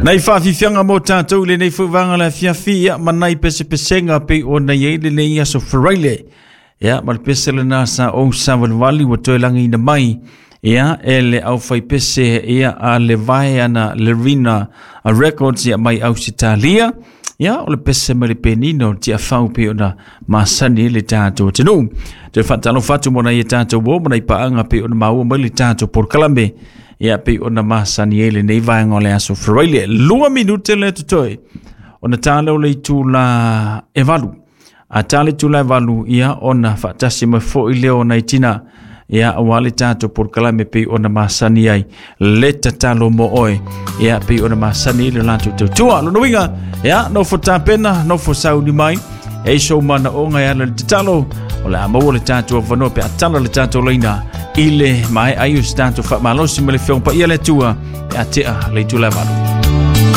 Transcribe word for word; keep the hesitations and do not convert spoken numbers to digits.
Nai whaafifianga mo tātou le nei fuivanga le afiafi ia ma nai pesepesenga pe o nei ei le nei aso Faraile. Ia ma le pese le nasa o savalivali ua toe lagiina mai ia e le aufai pese ia a le vae ana le Rina a Records ia mai Ausitalia. Ia o le pese mai le penina o Tiafau pe ona masani le tātou atunuu. Toe faatalofa atu mo nai e tātou o ma nai paaga pe ona maua mai le tātou polokalame ia pe ona masani ai lenei vaega o le aso Faraile. Lua minute le totoe ona tā lea o le itula e valu. A tā le itula e valu ia ona faatasi mai foʻi lea o nai tina ia auā le tatou polokalame pei ona masani ai le tatalo mo oe ia pei ona masani le latou tautua. Lona uiga ia nofo tapena, nofo sauni mai e sou manaoga e ala le tatalo o le a maua le tatou avanoa pe a tala le tatou laina i le mae'a ai o se tatou faamalosi ma le Afioga Paia le Atua pe a tea le itula e valu.